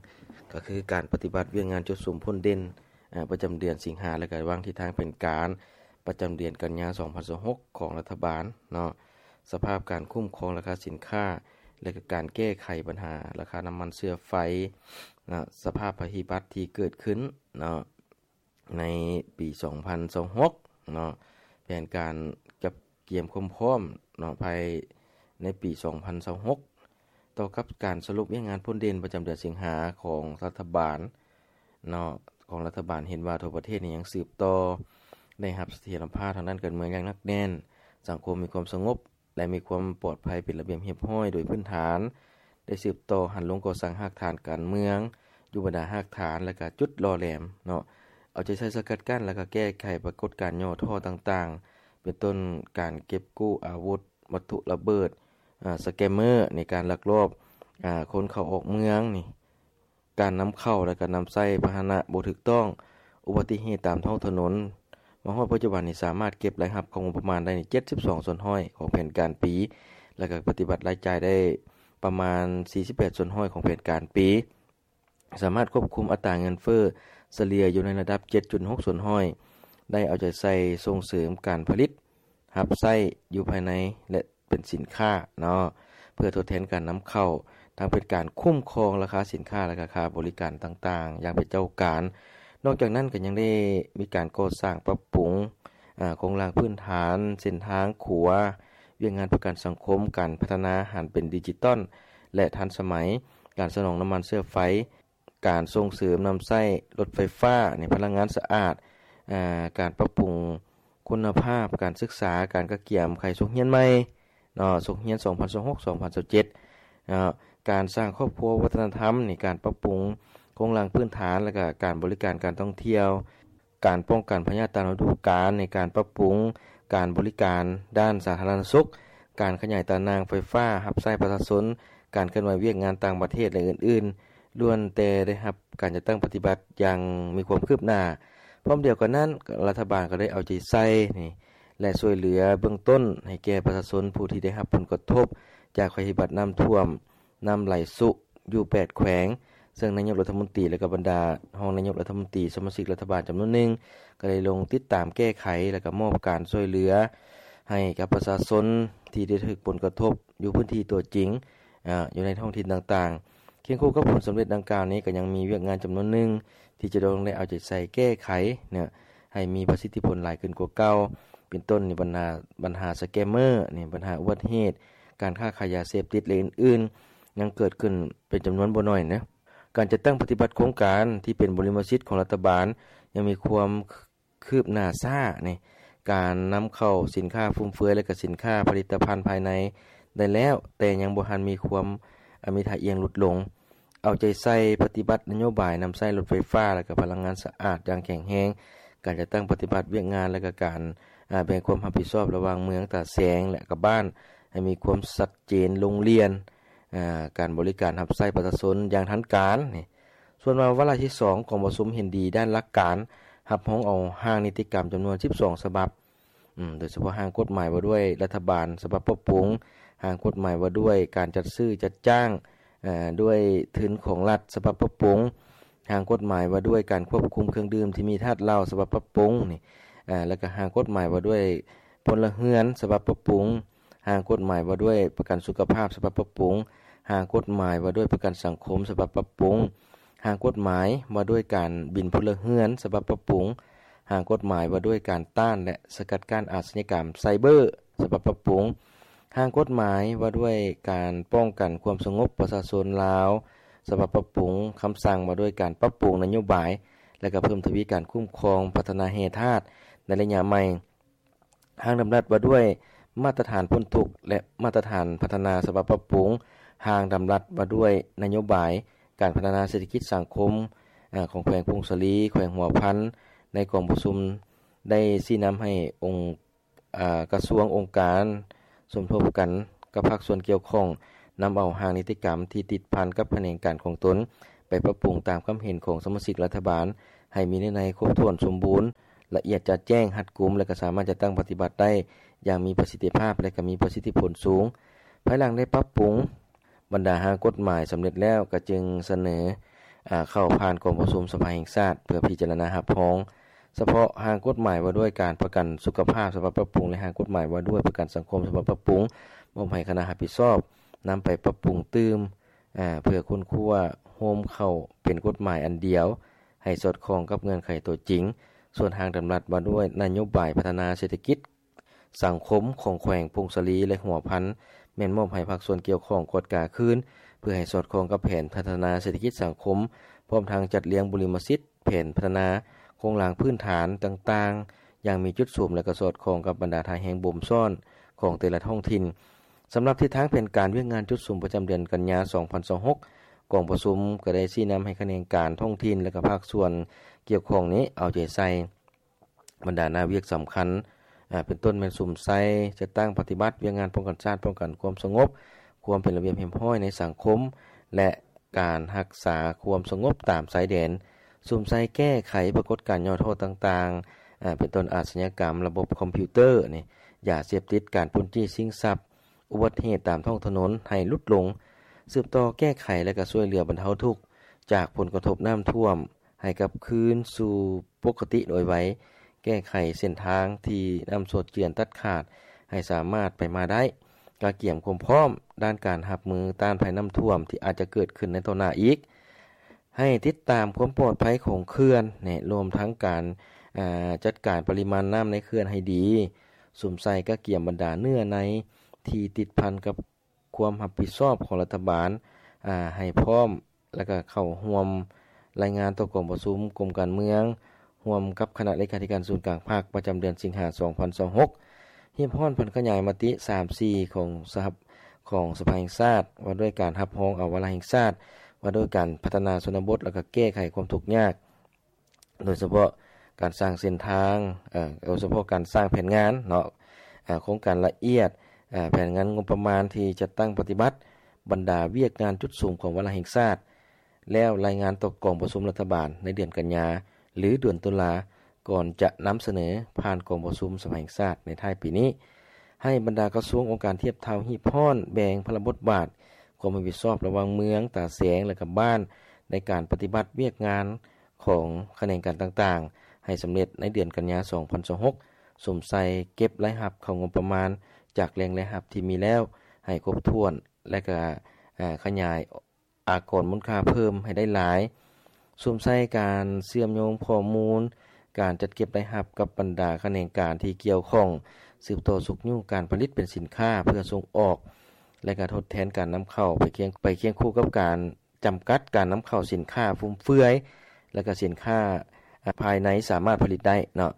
ກໍຄືການປະຕິບັດວຽກງານຈຸດສຸມຜົນເດັ່ນ ອາ ປະຈຳເດືອນສິງຫາ ແລະ ກະວາງທິດທາງແຜນການປະຈຳເດືອນກັນຍາ ສອງພັນຊາວຫົກ ຂອງລັດຖະບານເນາະ, ສະພາບການຄຸ້ມຄອງລາຄາສິນຄ້າ ແລະ ກະການແກ້ໄຂບັນຫາລາຄານ້ຳມັນເຊື້ອໄຟເນາະ, ສະພາບໄພພິບັດທີ່ເກີດຂຶ້ນເນາະ ໃນປີ ສອງພັນຊາວຫົກເນາະ, ແຜນການຈັດກຽມຄວາມພ້ອມເນາະ ພາຍໃນປີ ສອງພັນຊາວຫົກ ຕໍ່ກັບການສະຫຼຸບວຽກງານຜົນເດັ່ນປະຈຳເດືອນສິງຫາຂອງລັດຖະບານເນາະ, ຂອງລັດຖະບານເຫັນວ່າທົ່ວປະເທດນີ້ຍັງສືບຕໍ່ໄດ້ຮັບສະຖຽນລະພາບທາງດ້ານການເມືອງຢ່າງໜັກແໜ້ນ, ສັງຄົມມີຄວາມສະຫງົບ ແລະ ມີຄວາມປອດໄພເປັນລະບຽບຮຽບຮ້ອຍໂດຍພື້ນຖານ, ໄດ້ສືບຕໍ່ຫັນລົງກໍ່ສ້າງຮາກຖານການເມືອງ ຢູ່ບັນດາຮາກຖານ ແລະ ກະຈຸດຫຼໍ່ແຫຼມເນາະ, ເອົາໃຈໃສ່ສະກັດກັ້ນ ແລະ ກະແກ້ໄຂປາກົດການຫຍໍ້ທໍ້ຕ່າງໆ ເປັນຕົ້ນການເກັບກູ້ອາວຸດ ວັດຖຸລະເບີດ ອາ ສະແກມເມີ ໃນການລັກລອບ ອາ ຄົນເຂົ້າອອກເມືອງນີ້, ການນຳເຂົ້າ ແລະ ກະນຳໃຊ້ພາຫະນະບໍ່ຖືກຕ້ອງ, ອຸບັດຕິເຫດຕາມທ້ອງຖະໜົນ. ມາຮອດປັດຈຸບັນນີ້ສາມາດເກັບລາຍຮັບເຂົ້າງົບປະມານໄດ້ເຈັດສິບສອງສ່ວນຮ້ອຍຂອງແຜນການປີ, ແລະ ກະປະຕິບັດລາຍຈ່າຍໄດ້ປະມານສີ່ສິບແປດສ່ວນຮ້ອຍຂອງແຜນການປີ. ສາມາດຄວບຄຸມອັດຕາເງິນເຟີ້ສະເລ່ຍຢູ່ໃນລະດັບເຈັດຈຸດຫົກສ່ວນຮ້ອຍ, ໄດ້ເອົາໃຈໃສ່ສົ່ງເສີມການຜະລິດ ຮັບໃຊ້ຢູ່ພາຍໃນ ແລະ ເປັນສິນຄ້າເນາະ ເພື່ອທົດແທນການນຳເຂົ້າ, ທັງເປັນການຄຸ້ມຄອງລາຄາສິນຄ້າ ແລະ ກະຄ່າບໍລິການຕ່າງໆ ຢ່າງເປັນເຈົ້າການ. ນອກຈາກນັ້ນກໍຍັງໄດ້ມີການກໍ່ສ້າງປັບປຸງ ອາ ໂຄງລ່າງພື້ນຖານ, ເສັ້ນທາງ, ຂົວ, ວຽກງານປະກັນສັງຄົມ, ການພັດທະນາຫັນເປັນດິຈິຕອນ ແລະ ທັນສະໄໝ, ການສະໜອງນ້ຳມັນເຊື້ອໄຟ, ການສົ່ງເສີມນຳໃຊ້ລົດໄຟຟ້າໃນພະລັງງານສະອາດ, ອາ ການປັບປຸງຄຸນນະພາບການສຶກສາ, ການກະກຽມໄຂສົກຮຽນໃໝ່ເນາະ, ສົກຮຽນສອງພັນຊາວຫົກ ສອງພັນຊາວເຈັດເນາະ, ການສ້າງຄອບຄົວວັດທະນະທຳນີ້, ການປັບປຸງໂຄງລ່າງພື້ນຖານ ແລະ ກະການບໍລິການການທ່ອງທ່ຽວ, ການປ້ອງກັນພະຍາດຕາມລະດູການ, ໃນການປັບປຸງການບໍລິການດ້ານສາທາລະນະສຸກ, ການຂະຫຍາຍຕາໜ່າງໄຟຟ້າຮັບໃຊ້ປະຊາຊົນ, ການເຄື່ອນໄຫວວຽກງານຕ່າງປະເທດ ແລະ ອື່ນໆ ລ້ວນແຕ່ໄດ້ຮັບການຈັດຕັ້ງປະຕິບັດຢ່າງມີຄວາມຄືບໜ້າ. ພ້ອມດຽວກັນນັ້ນ, ລັດຖະບານກໍໄດ້ເອົາໃຈໃສ່ນີ້ ແລະ ຊ່ວຍເຫຼືອເບື້ອງຕົ້ນໃຫ້ແກ່ປະຊາຊົນຜູ້ທີ່ໄດ້ຮັບຜົນກະທົບຈາກໄພພິບັດນ້ຳຖ້ວມ ນ້ຳໄຫຼຊຸຢູ່ແປດແຂວງ, ເຊິ່ງນາຍົກລັດຖະມົນຕີ ແລະ ກະບັນດາຮອງນາຍົກລັດຖະມົນຕີ, ສະມາຊິກລັດຖະບານຈຳນວນໜຶ່ງ ກໍໄດ້ລົງຕິດຕາມແກ້ໄຂ ແລະ ກະມອບການຊ່ວຍເຫຼືອໃຫ້ກັບປະຊາຊົນທີ່ໄດ້ຖືກຜົນກະທົບຢູ່ພື້ນທີ່ຕົວຈິງ ອາ ຢູ່ໃນທ້ອງຖິ່ນຕ່າງໆ. ຄຽງຄູ່ກັບຜົນສຳເລັດດັ່ງກ່າວນີ້ ກໍຍັງມີວຽກງານຈຳນວນໜຶ່ງທີ່ຈະຕ້ອງໄດ້ເອົາໃຈໃສ່ແກ້ໄຂເນາະ ໃຫ້ມີປະສິດທິຜົນຫຼາຍຂຶ້ນກວ່າເກົ່າ, ເປັນຕົ້ນໃນບັນຫາ ບັນຫາສະແກມເມີນີ້, ບັນຫາອຸບັດຕິເຫດ, ການຄ້າຂາຍຢາເສບຕິດ ແລະ ອື່ນໆ ຍັງເກີດຂຶ້ນເປັນຈຳນວນບໍ່ໜ້ອຍເນາະ. ການຈັດຕັ້ງປະຕິບັດໂຄງການທີ່ເປັນບໍລິມະສິດຂອງລັດຖະບານຍັງມີຄວາມຄືບໜ້າຊ້ານີ້, ການນຳເຂົ້າສິນຄ້າຟຸມເຟືອຍ ແລະ ກະສິນຄ້າຜະລິດຕະພັນພາຍໃນໄດ້ແລ້ວ, ແຕ່ຍັງບໍ່ທັນມີຄວາມ ອາ ມີທ່າອ່ຽງຫຼຸດລົງ. ເອົາໃຈໃສ່ປະຕິບັດນະໂຍບາຍນຳໃຊ້ລົດໄຟຟ້າ ແລະ ກະພະລັງງານສະອາດຢ່າງແຂງແຮງ, ການຈັດຕັ້ງປະຕິບັດວຽກງານ ແລະ ກະການ ອາ ແບ່ງຄວາມຮັບຜິດຊອບລະຫວ່າງເມືອງ, ຕາແສງ ແລະ ກະບ້ານ ໃຫ້ມີຄວາມຊັດເຈນລົງລຽນ, ອາ ການບໍລິການຮັບໃຊ້ປະຊາຊົນຢ່າງທັນການນີ້. ສ່ວນມາວາລະທີສອງ ກອງປະຊຸມເຫັນດີດ້ານຫຼັກການ ຮັບຮອງເອົາຮ່າງນິຕິກຳຈຳນວນສິບສອງສະບັບ, ອາ ໂດຍສະເພາະຮ່າງກົດໝາຍວ່າດ້ວຍລັດຖະບານສະບັບປັບປຸງ, ຮ່າງກົດໝາຍວ່າດ້ວຍການຈັດຊື້ຈັດຈ້າງ ອາ ດ້ວຍທຶນຂອງລັດສະບັບປັບປຸງ, ຮ່າງກົດໝາຍວ່າດ້ວຍການຄວບຄຸມເຄື່ອງດື່ມທີ່ມີທາດເຫຼົ້າສະບັບປັບປຸງນີ້ ອາ ແລ້ວກໍຮ່າງກົດໝາຍວ່າດ້ວຍພົນລະເຮືອນສະບັບປັບປຸງ, ຮ່າງກົດໝາຍວ່າດ້ວຍປະກັນສຸຂະພາບສະບັບປັບປຸງ, ຮ່າງກົດໝາຍວ່າດ້ວຍປະກັນສັງຄົມສະບັບປັບປຸງ, ຮ່າງກົດໝາຍວ່າດ້ວຍການບິນພົນລະເຮືອນສະບັບປັບປຸງ, ຮ່າງກົດໝາຍວ່າດ້ວຍການຕ້ານ ແລະ ສະກັດກັ້ນອາຊະຍາກຳໄຊເບີສະບັບປັບປຸງ, ຮ່າງກົດໝາຍວ່າດ້ວຍການປ້ອງກັນຄວາມສະຫງົບປະຊາຊົນລາວສະບັບປັບປຸງ, ຄຳສັ່ງວ່າດ້ວຍການປັບປຸງນະໂຍບາຍ ແລະ ກໍເພີ່ມທະວີການຄຸ້ມຄອງພັດທະນາແຮ່ທາດໃນໄລຍະໃໝ່, ຮ່າງດຳລັດວ່າດ້ວຍມາດຕະຖານພົ້ນທຸກ ແລະ ມາດຕະຖານພັດທະນາສະບັບປັບປຸງ, ຮ່າງດຳລັດວ່າດ້ວຍນະໂຍບາຍການພັດທະນາເສດຖະກິດສັງຄົມ ອາ ຂອງແຂວງຜົ້ງສາລີ, ແຂວງຫົວພັນ ໃນກອງປະຊຸມໄດ້ຊີ້ນຳໃຫ້ອົງ ອາ ກະຊວງ, ອົງການ ສົມທົບກັນກັບພາກສ່ວນກ່ຽວຂ້ອງ ນຳເອົາຮ່າງນິຕິກຳທີ່ຕິດພັນກັບຂະແໜງການຂອງຕົນ ໄປປັບປຸງຕາມຄຳເຫັນຂອງສະມາຊິກລັດຖະບານ ໃຫ້ມີເນື້ອໃນຄົບຖ້ວນສົມບູນ, ລະອຽດຈະແຈ້ງ, ຮັດກຸມ ແລະ ກໍສາມາດຈັດຕັ້ງປະຕິບັດໄດ້ຢ່າງມີປະສິດທິພາບ ແລະ ກໍມີປະສິດທິຜົນສູງ. ພາຍຫຼັງໄດ້ປັບປຸງບັນດາຮ່າງກົດໝາຍສຳເລັດແລ້ວ, ກໍຈຶ່ງສະເໜີ ເຂົ້າຜ່ານກອງປະຊຸມສະພາແຫ່ງຊາດ ເພື່ອພິຈາລະນາຮັບຮອງສະເພາະຮ່າງກົດໝາຍວ່າດ້ວຍການປະກັນສຸຂະພາບສະບັບປັບປຸງ ແລະ ຮ່າງກົດໝາຍວ່າດ້ວຍປະກັນສັງຄົມສະບັບປັບປຸງ ມອບໃຫ້ຄະນະຮັບຜິດຊອບນຳໄປປັບປຸງຕື່ມ ເພື່ອຄົ້ນຄວ້າໂຮມເຂົ້າເປັນກົດໝາຍອັນດຽວ ໃຫ້ສອດຄ່ອງກັບເງື່ອນໄຂຕົວຈິງ. ສ່ວນຮ່າງດຳລັດວ່າດ້ວຍນະໂຍບາຍພັດທະນາເສດຖະກິດ ສັງຄົມຂອງແຂວງຜົ້ງສາລີ ແລະ ຫົວພັນ ແມ່ນມອບໃຫ້ພາກສ່ວນກ່ຽວຂ້ອງກວດກາຄືນ ເພື່ອໃຫ້ສອດຄ່ອງກັບແຜນພັດທະນາເສດຖະກິດສັງຄົມ ພ້ອມທັງຈັດລຽງບຸລິມະສິດ ແຜນພັດທະນາໂຄງລ່າງພື້ນຖານຕ່າງໆ ຢ່າງມີຈຸດສຸມ ແລະ ກໍສອດຄ່ອງກັບບັນດາທ່າແຮງບົ່ມຊ້ອນຂອງແຕ່ລະທ້ອງຖິ່ນ. ສຳລັບທິດທາງແຜນການວຽກງານຈຸດສຸມປະຈຳເດືອນກັນຍາ ສອງພັນຊາວຫົກ ກອງປະຊຸມກໍໄດ້ຊີ້ນຳໃຫ້ຂະແໜງການທ້ອງຖິ່ນ ແລະ ກໍພາກສ່ວນກ່ຽວຂ້ອງນີ້ເອົາໃຈໃສ່ ບັນດາໜ້າວຽກສຳຄັນ ເປັນຕົ້ນແມ່ນສຸມໃສ່ຈັດຕັ້ງປະຕິບັດວຽກງານປ້ອງກັນຊາດ, ປ້ອງກັນຄວາມສະຫງົບ, ຄວາມເປັນລະບຽບຮຽບຮ້ອຍໃນສັງຄົມ ແລະ ການຮັກສາຄວາມສະຫງົບຕາມຊາຍແດນ, ສຸມໃສ່ແກ້ໄຂປາກົດການຫຍໍ້ທໍ້ຕ່າງໆ ເປັນຕົ້ນອາຊະຍາກຳ, ລະບົບຄອມພິວເຕີ, ຢາເສບຕິດ, ການປຸ້ນຈີ້ຊິງຊັບ, ອຸບັດຕິເຫດຕາມທ້ອງຖະໜົນໃຫ້ຫຼຸດລົງ, ສືບຕໍ່ແກ້ໄຂ ແລະ ກໍຊ່ວຍເຫຼືອບັນເທົາທຸກຈາກຜົນກະທົບນ້ຳຖ້ວມ ໃຫ້ກັບຄືນສູ່ປົກກະຕິໂດຍໄວ, ແກ້ໄຂເສັ້ນທາງທີ່ນ້ຳຊົດເຈື່ອນຕັດຂາດໃຫ້ສາມາດໄປມາໄດ້, ກະກຽມຄວາມພ້ອມດ້ານການຮັບມືຕ້ານໄພນ້ຳຖ້ວມທີ່ອາດຈະເກີດຂຶ້ນໃນຕໍ່ໜ້າອີກ, ໃຫ້ຕິດຕາມຄວາມປອດໄພຂອງເຂື່ອນ ແລະ ລວມທັງການ ອາ ຈັດການປະລິມານນ້ຳໃນເຂື່ອນໃຫ້ດີ, ສຸມໃສ່ກະກຽມບັນດາເນື້ອໃນທີ່ຕິດພັນກັບ ຄວາມຮັບຜິດຊອບຂອງລັດຖະບານ ອາ ໃຫ້ພ້ອມ ແລະ ກະເຂົ້າຮ່ວມລາຍງານຕໍ່ກອງປະຊຸມກົມການເມືອງ ຮ່ວມກັບຄະນະເລຂາທິການສູນກາງພັກ ປະຈຳເດືອນສິງຫາ ສອງພັນຊາວຫົກ, ຮີບຮ້ອນຜັນຂະຫຍາຍມະຕິ ສາມສີ່ ຂອງສະຫະ ຂອງສະພາແຫ່ງຊາດ ວ່າດ້ວຍການຮັບຮອງເອົາວາລະແຫ່ງຊາດ ວ່າດ້ວຍການພັດທະນາຊົນນະບົດ ແລະ ກະແກ້ໄຂຄວາມທຸກຍາກ ໂດຍສະເພາະການສ້າງເສັ້ນທາງ ເອີ ໂດຍສະເພາະການສ້າງແຜນງານເນາະ ເອີ ໂຄງການລະອຽດ ເອີ ແຜນງານງົບປະມານທີ່ຈັດຕັ້ງປະຕິບັດບັນດາວຽກງານຈຸດສຸມຂອງວາລະແຫ່ງຊາດ ແລ້ວລາຍງານຕໍ່ກອງປະຊຸມລັດຖະບານໃນເດືອນກັນຍາ ຫຼື ເດືອນຕຸລາ ກ່ອນຈະນຳສະເໜີຜ່ານກອງປະຊຸມສະພາແຫ່ງຊາດໃນທ້າຍປີນີ້. ໃຫ້ບັນດາກະຊວງ ອົງການທຽບເທົ່າ ຮີບຮ້ອນແບ່ງພາລະບົດບາດ ຄວາມຮັບຜິດຊອບລະຫວ່າງເມືອງ, ຕາແສງ ແລະ ກະບ້ານ ໃນການປະຕິບັດວຽກງານຂອງຂະແໜງການຕ່າງໆ ໃຫ້ສຳເລັດໃນເດືອນກັນຍາ ສອງພັນຊາວຫົກ, ສຸມໃສ່ເກັບລາຍຮັບເຂົ້າງົບປະມານຈາກແຫຼ່ງລາຍຮັບທີ່ມີແລ້ວ ໃຫ້ຄົບຖ້ວນ ແລະ ກະ ອາ ຂະຫຍາຍ ອາກອນມູນຄ່າເພີ່ມໃຫ້ໄດ້ຫຼາຍ, ສຸມໃສ່ການເຊື່ອມໂຍງຂໍ້ມູນການຈັດເກັບລາຍຮັບກັບບັນດາຂະແໜງການທີ່ກ່ຽວຂ້ອງ, ສືບຕໍ່ຊຸກຍູ້ການຜະລິດເປັນສິນຄ້າເພື່ອສົ່ງອອກ ແລະ ກະທົດແທນການນຳເຂົ້າໄປຄຽງ ໄປຄຽງຄູ່ກັບການຈຳກັດການນຳເຂົ້າສິນຄ້າຟຸມເຟືອຍ ແລະ ກະສິນຄ້າ ອາ ພາຍໃນສາມາດຜະລິດໄດ້ເນາະ,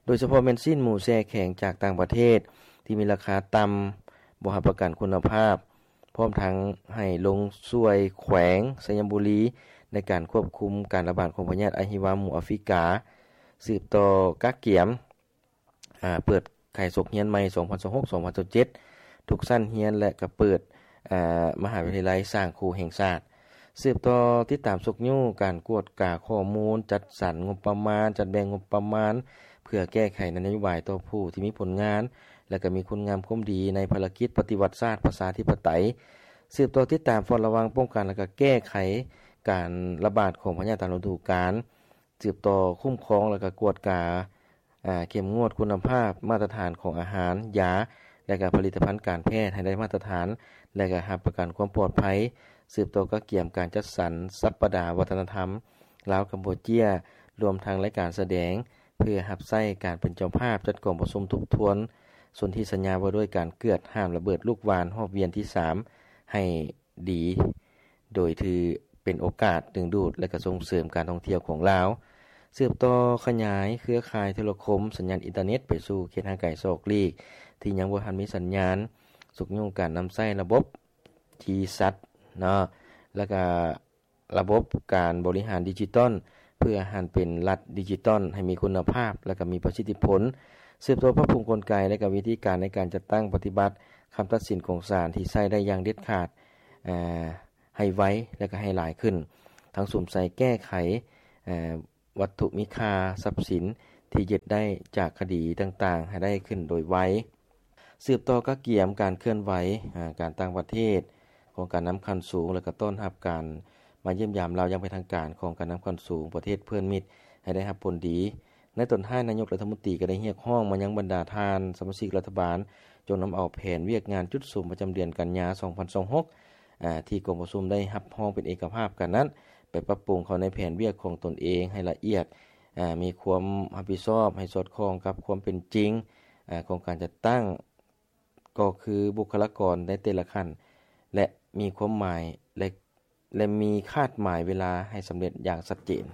ໂດຍສະເພາະແມ່ນຊີ້ນໝູແຊ່ແຂງຈາກຕ່າງປະເທດທີ່ມີລາຄາຕ່ຳ, ບໍ່ຮັບປະກັນຄຸນນະພາບ, ພ້ອມທັງໃຫ້ລົງຊ່ວຍແຂວງໄຊຍະບູລີໃນການຄວບຄຸມການລະບາດຂອງພະຍາດອະຫິວາໝູອາຟຣິກາ, ສືບຕໍ່ກະກຽມ ອາ ເປີດຂາຍສົກຮຽນໃໝ່ ສອງພັນຊາວຫົກ ສອງພັນຊາວເຈັດ ທຸກຊັ້ນຮຽນ ແລະ ກະເປີດ ອາ ມະຫາວິທະຍາໄລສ້າງຄູແຫ່ງຊາດ, ສືບຕໍ່ຕິດຕາມຊຸກຍູ້ການກວດກາຂໍ້ມູນ, ຈັດສັນງົບປະມານ, ຈັດແບ່ງງົບປະມານ ເພື່ອແກ້ໄຂນະໂຍບາຍຕໍ່ຜູ້ທີ່ມີຜົນງານ ແລະ ກະມີຄຸນງາມຄວາມດີໃນພາລະກິດປະຕິວັດຊາດປະຊາທິປະໄຕ, ສືບຕໍ່ຕິດຕາມເຝົ້າລະວັງ, ປ້ອງກັນ ແລະ ກະແກ້ໄຂການລະບາດຂອງພະຍາດຕາມລະດູການ, ສືບຕໍ່ຄຸ້ມຄອງ ແລະ ກະກວດກາ ອາ ເຂັ້ມງວດຄຸນນະພາບມາດຕະຖານຂອງອາຫານ, ຢາ ແລະ ກະຜະລິດຕະພັນການແພດໃຫ້ໄດ້ມາດຕະຖານ ແລະ ກະຮັບປະກັນຄວາມປອດໄພ, ສືບຕໍ່ກະກຽມການຈັດສັນສັບປະດາວັດທະນະທຳລາວກຳປູເຈຍ ລວມທັງລາຍການສະແດງ ເພື່ອຮັບໃຊ້ການເປັນເຈົ້າພາບຈັດກອງປະຊຸມທົບທວນສົນທິສັນຍາວ່າດ້ວຍການເກືອດຫ້າມລະເບີດລູກຫວ່ານຮອບວຽນທີສາມ ໃຫ້ດີ ໂດຍຖືເປັນໂອກາດດຶງດູດ ແລະ ກະສົ່ງເສີມການທ່ອງທ່ຽວຂອງລາວ, ສືບຕໍ່ຂະຫຍາຍເຄືອຂ່າຍໂທລະຄົມ, ສັນຍານອິນເຕີເນັດໄປສູ່ເຂດຫ່າງໄກສອກຫຼີກ ທີ່ຍັງບໍ່ທັນມີສັນຍານ, ຊຸກຍູ້ການນຳໃຊ້ລະບົບຈີແຊັດເນາະ ແລະ ກະ ລະບົບການບໍລິຫານດິຈິຕອນ ເພື່ອຫັນເປັນລັດດິຈິຕອນໃຫ້ມີຄຸນນະພາບ ແລະ ກະມີປະສິດທິຜົນ, ສືບຕໍ່ປັບປຸງກົນໄກ ແລະ ກະວິທີການໃນການຈັດຕັ້ງປະຕິບັດຄຳຕັດສິນຂອງສານທີ່ໃຊ້ໄດ້ຢ່າງເດັດຂາດ ອາ ໃຫ້ໄວ ແລະ ກະໃຫ້ຫຼາຍຂຶ້ນ, ທັງສຸມໃສ່ແກ້ໄຂ ອາ ວັດຖຸມີຄ່າ, ຊັບສິນທີ່ຍຶດໄດ້ຈາກຄະດີຕ່າງໆ ໃຫ້ໄດ້ຂຶ້ນໂດຍໄວ. ສືບຕໍ່ກະກຽມການເຄື່ອນໄຫວ ອາ ການຕ່າງປະເທດຂອງການນຳຂັ້ນສູງ ແລະ ກະຕ້ອນຮັບການ ມາຢ້ຽມຢາມລາວຢ່າງເປັນທາງການຂອງການນຳຂັ້ນສູງປະເທດເພື່ອນມິດໃຫ້ໄດ້ຮັບຜົນດີ. ໃນຕອນທ້າຍ, ນາຍົກລັດຖະມົນຕີກໍໄດ້ຮຽກຮ້ອງມາຍັງບັນດາທ່ານສະມາຊິກລັດຖະບານ ຈົ່ງນຳເອົາແຜນວຽກງານຈຸດສຸມປະຈຳເດືອນກັນຍາ ສອງພັນຊາວຫົກ ອາ ທີ່ກອງປະຊຸມໄດ້ຮັບຮອງເປັນເອກະພາບກັນນັ້ນ ໄປປັບປຸງເຂົ້າໃນແຜນວຽກຂອງຕົນເອງໃຫ້ລະອຽດ, ອາ ມີຄວາມຮັບຜິດຊອບໃຫ້ສອດຄ່ອງກັບຄວາມເປັນຈິງ, ອາ ຂອງການຈັດຕັ້ງ ກໍຄືບຸກຄະລາກອນໃນແຕ່ລະຂັ້ນ ແລະ ມີຄວາມໝາຍ ແລະ ແລະ ມີຄາດໝາຍເວລາໃຫ້ສຳເລັດຢ່າງຊັດເຈນ.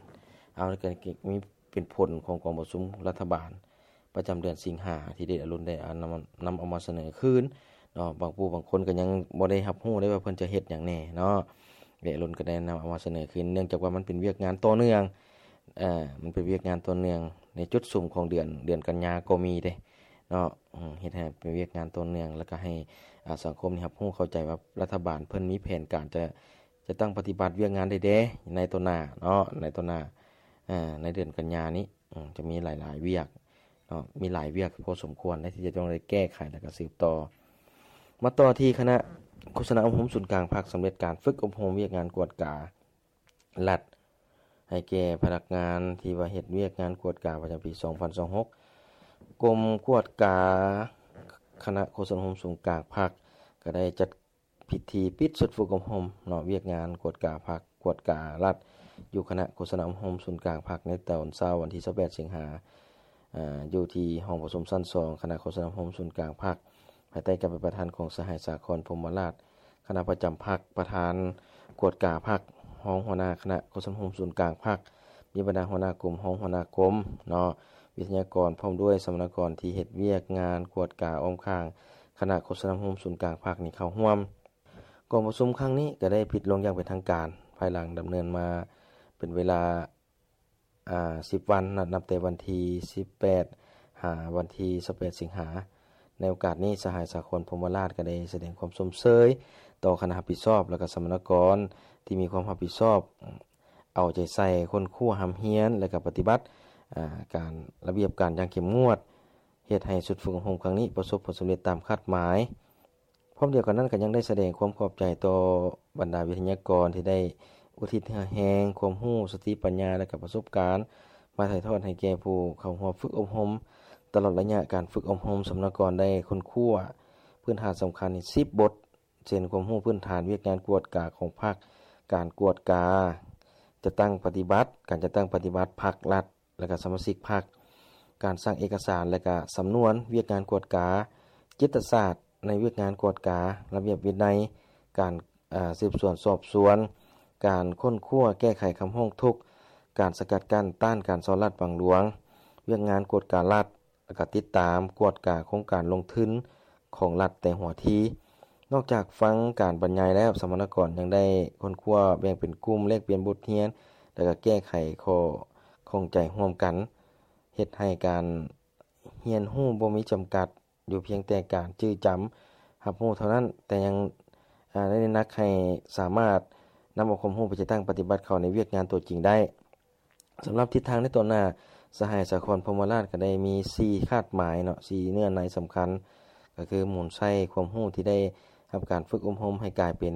ເອົາ ກໍມີເປັນຜົນຂອງກອງປະຊຸມລັດຖະບານປະຈຳເດືອນສິງຫາ ທີ່ເດດອາລຸນໄດ້ເອົານຳ ນຳເອົາມາສະເໜີຄືນເນາະ. ບາງຜູ້ບາງຄົນກໍຍັງບໍ່ໄດ້ຮັບຮູ້ເດ້ວ່າເພິ່ນຈະເຮັດຫຍັງແດ່ເນາະ. ເດດອາລຸນກໍໄດ້ນຳເອົາມາສະເໜີຄືນ ເນື່ອງຈາກວ່າມັນເປັນວຽກງານຕໍ່ເນື່ອງ, ເອີ ມັນເປັນວຽກງານຕໍ່ເນື່ອງໃນຈຸດສຸມຂອງເດືອນ ເດືອນກັນຍາກໍມີເດ້ເນາະ. ເຮັດໃຫ້ເປັນວຽກງານຕໍ່ເນື່ອງ ແລ້ວກໍໃຫ້ ອາ ສັງຄົມນີ້ຮັບຮູ້ເຂົ້າໃຈວ່າລັດຖະບານເພິ່ນມີແຜນການຈະ ຈະຕັ້ງປະຕິບັດວຽກງານໃດແດ່ໃນຕໍ່ໜ້າເນາະ, ໃນຕໍ່ໜ້າ ເອີ ໃນເດືອນກັນຍານີ້ ອາ ຈະມີຫຼາຍໆວຽກເນາະ, ມີຫຼາຍວຽກພໍສົມຄວນເດ້ທີ່ຈະຕ້ອງໄດ້ແກ້ໄຂ ແລ້ວກໍສືບຕໍ່. ມາຕໍ່ທີ່ຄະນະໂຄສະນາອົບຮົມສູນກາງພັກ ສຳເລັດການຝຶກອົບຮົມວຽກງານກວດກາລັດ ໃຫ້ແກ່ພະນັກງານທີ່ວ່າເຮັດວຽກງານກວດກາປະຈຳປີສອງພັນຊາວຫົກ. ກົມກວດກາຄະນະໂຄສະນາອົບຮົມສູນກາງພັກ ກໍໄດ້ຈັດ ພິທີປິດຊຸດຝຶກອົບຮົມເນາະ ວຽກງານກວດກາພັກ ກວດກາລັດ ຢູ່ຄະນະໂຄສະນາອົບຮົມສູນກາງພັກ ໃນຕອນເຊົ້າວັນທີຊາວແປດສິງຫາ ອາ ຢູ່ທີ່ຫ້ອງປະຊຸມຊັ້ນສອງ ຄະນະໂຄສະນາອົບຮົມສູນກາງພັກ ພາຍໃຕ້ການເປັນປະທານຂອງສະຫາຍ ສາຄອນ ພົມມະລາດ ຄະນະປະຈຳພັກ, ປະທານກວດກາພັກ, ຮອງຫົວໜ້າຄະນະໂຄສະນາອົບຮົມສູນກາງພັກ, ມີບັນດາຫົວໜ້າກົມ, ຮອງຫົວໜ້າກົມເນາະ, ວິທະຍາກອນ ພ້ອມດ້ວຍສຳມະນາກອນທີ່ເຮັດວຽກງານກວດກາອ້ອມຂ້າງ ຄະນະໂຄສະນາອົບຮົມສູນກາງພັກນີ້ເຂົ້າຮ່ວມ. ກອງປະຊຸມຄັ້ງນີ້ກໍໄດ້ປິດລົງຢ່າງເປັນທາງການ ພາຍຫຼັງດຳເນີນມາເປັນເວລາ ອາ ສິບວັນ ນັບແຕ່ວັນທີສິບແປດຫາວັນທີຊາວແປດສິງຫາ. ໃນໂອກາດນີ້ ສະຫາຍ ສາຄອນ ພົມມະລາດ ກໍໄດ້ສະແດງຄວາມຊົມເຊີຍຕໍ່ຄະນະຮັບຜິດຊອບ ແລະ ກໍສຳມະນາກອນທີ່ມີຄວາມຮັບຜິດຊອບ ເອົາໃຈໃສ່ຄົ້ນຄວ້າຮ່ຳຮຽນ ແລະ ກໍປະຕິບັດ ອາ ການລະບຽບການຢ່າງເຂັ້ມງວດ ເຮັດໃຫ້ຊຸດຝຶກອົບຮົມຄັ້ງນີ້ປະສົບຜົນສຳເລັດຕາມຄາດໝາຍ. ພ້ອມດຽວກັນນັ້ນກໍຍັງໄດ້ສະແດງຄວາມຂອບໃຈຕໍ່ບັນດາວິທະຍາກອນທີ່ໄດ້ອຸທິດເຫື່ອແຮງ, ຄວາມຮູ້, ສະຕິປັນຍາ ແລະ ກະປະສົບການ ມາຖ່າຍທອດໃຫ້ແກ່ຜູ້ເຂົ້າຮ່ວມຝຶກອົບຮົມ. ຕະຫຼອດໄລຍະການຝຶກອົບຮົມ, ສຳມະນາກອນໄດ້ຄົ້ນຄວ້າພື້ນຖານສຳຄັນສິບບົດ ເຊັ່ນ ຄວາມຮູ້ພື້ນຖານວຽກງານກວດກາຂອງພັກ, ການກວດກາ ຈັດຕັ້ງປະຕິບັດ, ການຈັດຕັ້ງປະຕິບັດພັກລັດ ແລະ ກະສະມາຊິກພັກ, ການສ້າງເອກະສານ ແລະ ກະສຳນວນວຽກງານກວດກາ, ຈິດຕະສາດໃນວຽກງານກວດກາ, ລະບຽບວິໄນ, ການ ອາ ສືບສວນສອບສວນ, ການຄົ້ນຄວ້າແກ້ໄຂຄຳຮ້ອງທຸກ, ການສະກັດກັ້ນຕ້ານການສໍ້ລາດບັງຫຼວງ, ວຽກງານກວດກາລັດ, ແລະ ກະຕິດຕາມກວດກາໂຄງການລົງທຶນຂອງລັດແຕ່ຫົວທີ. ນອກຈາກຟັງການບັນຍາຍແລ້ວ, ສຳມະນາກອນຍັງໄດ້ຄົ້ນຄວ້າແບ່ງເປັນກຸ່ມ, ແລກປ່ຽນບົດຮຽນ ແລະ ກະແກ້ໄຂຂໍ້ຂ້ອງໃຈຮ່ວມກັນ, ເຮັດໃຫ້ການຮຽນຮູ້ບໍ່ມີຈຳກັດຢູ່ພຽງແຕ່ການຈື່ຈຳຮັບຮູ້ເທົ່ານັ້ນ, ແຕ່ຍັງ ອາ ໄດ້ໜັກໃຫ້ສາມາດນຳເອົາຄວາມຮູ້ໄປຈັດຕັ້ງປະຕິບັດເຂົ້າໃນວຽກງານຕົວຈິງໄດ້. ສຳລັບທິດທາງໃນຕໍ່ໜ້າ, ສະຫາຍ ສາຄອນ ພົມມະລາດ ກໍໄດ້ມີສີ່ຄາດໝາຍເນາະ, ສີ່ເນື້ອໃນສຳຄັນ ກໍຄືໝູນໃຊ້ຄວາມຮູ້ທີ່ໄດ້ຮັບການຝຶກອົບຮົມໃຫ້ກາຍເປັນ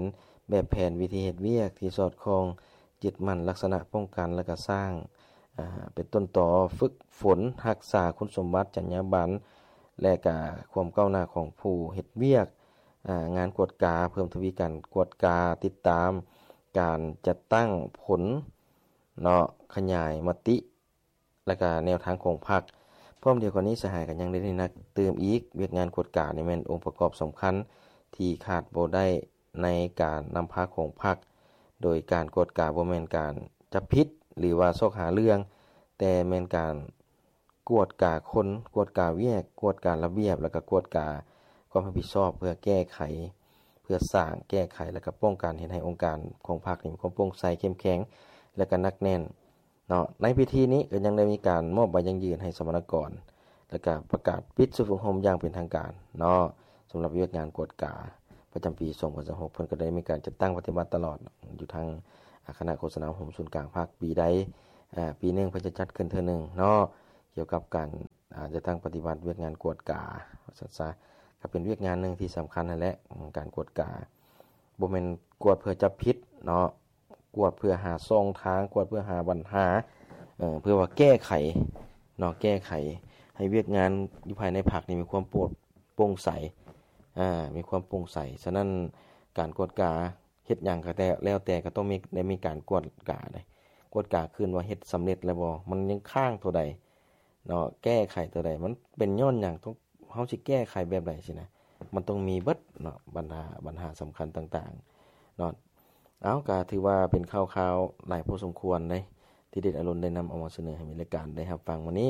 ແບບແຜນວິທີເຮັດວຽກທີ່ສອດຄ່ອງ, ຍຶດໝັ້ນລັກສະນະປ້ອງກັນ ແລະ ກະສ້າງ ອາ ເປັນຕົ້ນຕໍຝຶກຝົນຮັກສາຄຸນສົມບັດ, ຈັນຍາບັນ ແລະ ກະຄວາມກ້າວໜ້າຂອງຜູ້ເຮັດວຽກ ອາ ງານກວດກາ, ເພີ່ມທະວີການກວດກາ, ຕິດຕາມການຈັດຕັ້ງຜົນ ເນາະ ຂະຫຍາຍມະຕິ ແລະ ກະແນວທາງຂອງພັກ. ພ້ອມດຽວກັນນີ້ ສະຫາຍກໍຍັງໄດ້ໜັກຕື່ມອີກ, ວຽກງານກວດການີ້ແມ່ນອົງປະກອບສຳຄັນທີ່ຂາດບໍ່ໄດ້ໃນການນຳພາຂອງພັກ, ໂດຍການກວດກາບໍ່ແມ່ນການຈັບຜິດ ຫຼື ວ່າຊອກຫາເລື່ອງ, ແຕ່ແມ່ນການ ກວດກາຄົນ, ກວດກາວຽກ, ກວດກາລະບຽບ ແລະ ກະກວດກາຄວາມຮັບຜິດຊອບ ເພື່ອແກ້ໄຂ, ເພື່ອສ້າງ, ແກ້ໄຂ ແລະ ກະປ້ອງກັນເຮັດໃຫ້ອົງການຂອງພັກນີ້ມີຄວາມໂປ່ງໃສ, ເຂັ້ມແຂງ ແລະ ກະໜັກແໜ້ນເນາະ. ໃນພິທີນີ້ກໍຍັງໄດ້ມີການມອບໃບຢັ້ງຢືນໃຫ້ສຳມະນາກອນ ແລະ ກະປະກາດປິດຊຸດຝຶກອົບຮົມຢ່າງເປັນທາງການເນາະ, ສຳລັບວຽກງານກວດກາປະຈຳປີສອງພັນຊາວຫົກ ເພິ່ນກໍໄດ້ມີການຈັດຕັ້ງປະຕິບັດຕະຫຼອດ ຢູ່ທາງ ອາ ຄະນະໂຄສະນາອົບຮົມສູນກາງພັກ ປີໃດ ອາ ປີໜຶ່ງເພິ່ນຈະຈັດຂຶ້ນເທື່ອໜຶ່ງເນາະ, ກ່ຽວກັບການ ອາ ຈັດຕັ້ງປະຕິບັດວຽກງານກວດກາ ວ່າຊັ້ນຊະ, ກໍເປັນວຽກງານໜຶ່ງທີ່ສຳຄັນຫັ້ນແຫຼະ. ການກວດກາບໍ່ແມ່ນກວດເພື່ອຈັບຜິດເນາະ, ກວດເພື່ອຫາຊ່ອງທາງ, ກວດເພື່ອຫາບັນຫາ, ເອີ ເພື່ອວ່າແກ້ໄຂເນາະ, ແກ້ໄຂໃຫ້ວຽກງານຢູ່ພາຍໃນພັກນີ້ມີຄວາມໂປ່ງ ໂປ່ງໃສ, ອາ ມີຄວາມໂປ່ງໃສ. ສະນັ້ນ ການກວດກາເຮັດຫຍັງກໍແຕ່ ແລ້ວແຕ່ກໍຕ້ອງມີ ໄດ້ມີການກວດກາເດ້, ກວດກາຄືນວ່າເຮັດສຳເລັດແລ້ວບໍ່, ມັນຍັງຄ້າງຕົວໃດເນາະ, ແກ້ໄຂຕົວໃດ, ມັນເປັນຍ້ອນຫຍັງ, ຕ້ອງ ເຮົາຊິແກ້ໄຂແບບໃດຊີ້ນະ, ມັນຕ້ອງມີເບິດເນາະ, ບັນຫາ ບັນຫາສຳຄັນຕ່າງໆເນາະ. ເອົາ ກໍຖືວ່າເປັນຂ່າວຄາວຫຼາຍພໍສົມຄວນເດ້ ທີ່ເດັດອາລຸນໄດ້ນຳເອົາມາສະເໜີໃຫ້ມິດລາຍການໄດ້ຮັບຟັງມື້ນີ້,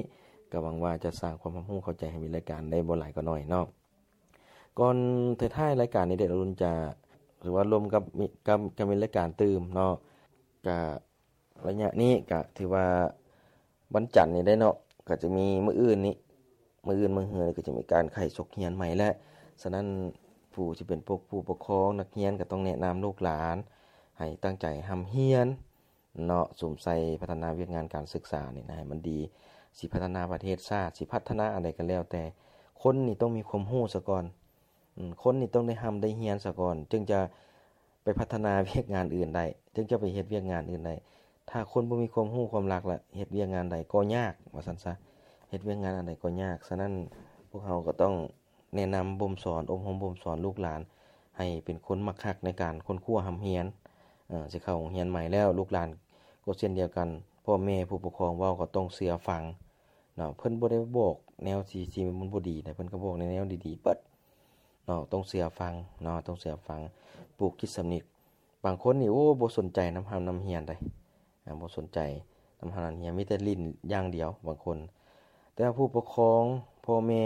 ກໍຫວັງວ່າຈະສ້າງຄວາມຮັບຮູ້ເຂົ້າໃຈໃຫ້ມິດລາຍການໄດ້ບໍ່ຫຼາຍກໍໜ້ອຍເນາະ. ກ່ອນທ້າຍໆລາຍການນີ້ ເດັດອາລຸນຈະ ຫຼືວ່າລົມກັບ ກັບ ກັບມິດລາຍການຕື່ມເນາະ, ກະ ໄລຍະນີ້ກະຖືວ່າວັນຈັນນີ້ໄດ້ເນາະ, ກະຈະມີມື້ອື່ນນີ້ ມື້ອື່ນມື້ຮືນີ້ກະຈະມີການໄຂສົກຮຽນໃໝ່ແຫຼະ. ສະນັ້ນ ຜູ້ທີ່ເປັນພວກຜູ້ປົກຄອງນັກຮຽນກະຕ້ອງແນະນຳລູກຫຼານໃຫ້ຕັ້ງໃຈຮ່ຳຮຽນເນາະ, ສຸມໃສ່ພັດທະນາວຽກງານການສຶກສານີ້ນະ ໃຫ້ມັນດີ. ຊິພັດທະນາປະເທດຊາດ ຊິພັດທະນາອັນໃດກະແລ້ວແຕ່, ຄົນນີ້ຕ້ອງມີຄວາມຮູ້ສາກ່ອນ. ອືມ ຄົນນີ້ຕ້ອງໄດ້ຮ່ຳໄດ້ຮຽນສາກ່ອນ ຈຶ່ງຈະ ໄປພັດທະນາວຽກງານອື່ນໄດ້, ຈຶ່ງຈະໄປເຮັດວຽກງານອື່ນໄດ້. ຖ້າຄົນບໍ່ມີຄວາມຮູ້ຄວາມລັກ ແລະ ເຮັດວຽກງານໃດກໍຍາກ ວ່າຊັ້ນຊະ, ເຮັດວຽກງານອັນໃດກໍຍາກ. ສະນັ້ນ ພວກເຮົາກໍຕ້ອງແນະນຳບົ່ມສອນ, ອົບຮົມບົ່ມສອນລູກຫຼານໃຫ້ເປັນຄົນມັກຮັກໃນການຄົ້ນຄວ້າຮ່ຳຮຽນ. ເອີ ຊິເຂົ້າໂຮງຮຽນໃໝ່ແລ້ວ ລູກຫຼານກໍເຊັ່ນດຽວກັນ, ພໍ່ແມ່ຜູ້ປົກຄອງເວົ້າກໍຕ້ອງເຊື່ອຟັງເນາະ. ເພິ່ນບໍ່ໄດ້ບອກແນວທີ່ ທີ່ມັນບໍ່ດີນະ, ເພິ່ນກໍບອກໃນແນວດີໆເບິດ. ເນາະ, ຕ້ອງເຊື່ອຟັງເນາະ, ຕ້ອງເຊື່ອຟັງ, ປູກຈິດສຳນຶກ. ບາງຄົນນີ້ ໂອ້ ບໍ່ສົນໃຈນຳຮ່ຳນຳຮຽນໃດ໋, ອາ ບໍ່ສົນໃຈນຳຮ່ຳນຳຮຽນ, ມີແຕ່ຫຼິ້ນຢ່າງດຽວບາງຄົນ. ແຕ່ວ່າຜູ້ປົກຄອງ ພໍ່ແມ່